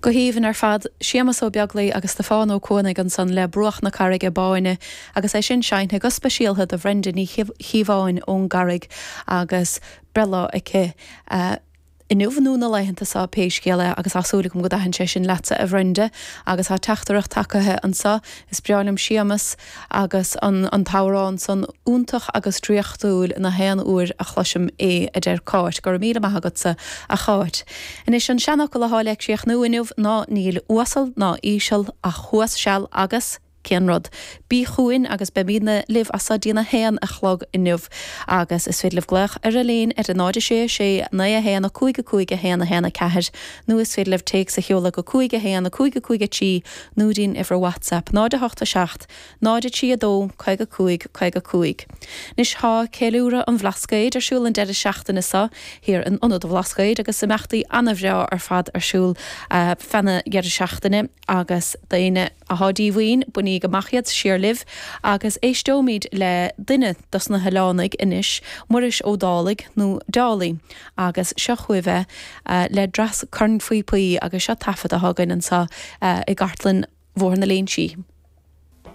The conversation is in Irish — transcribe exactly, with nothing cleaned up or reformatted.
Go haoibhinn ar fad, Séamus Ó Beaglaoi agus Stiofán Ó Cuanaigh ansan le Bruach na Carraige Báine agus é sin seinnte go speisialta do Bhrenda Ní Chíobháin ón gCarraig agus breithlá aici. Uh, Inniu nó na laethanta seo pé scéal é agus tá súil agam go dtaithin sé sin leatsa a Bhrenda agus tá teachtaireacht tagtha anseo is breá liom Séamus agus an, an t-amhrán san iontach agus draíochtúil na haon uair a chloisim é a deir Cáit, go raibh míle maith agatsa a Cháit. Anois an seanfhocal atá le críochnú inniu ná níl uasal ná íseal ach thuas seal agus cén rud. Bí chugainn agus beimidne libh as seo go dtí a haon a chlog inniu agus is féidir libh glaoch ar an líne ar a náid sé sé naoi a haon a cúig a cúig a haon a haon a ceathair nó is féidir libh téacs a sheoladh go cúig a haon a cúig a cúig a trí nó dtí'n uimhir WhatsApp náid a hocht a seacht, náid a trí a dó caoga cúig caoga cúig. Anois tá ceiliúradh an Bhlascaoid ar siúl an deireadh seachtaine seo thiar in Ionad an Bhlascaoid agus imeachtaí an-bhreá ar fad ar siúl uh, feadh na deireadh seachtaine agus daoine atá díomhaoin bainigí amach iad siar libh agus éisteoimid le duine dos na hoileánaigh anois Muiris Ó Dálaigh nó Dálaí agus seo chugaibh é uh, le dreas cornphíopaí agus seo taifead a thugann anseo uh, i gcartlann Bhóthar na Léinsí.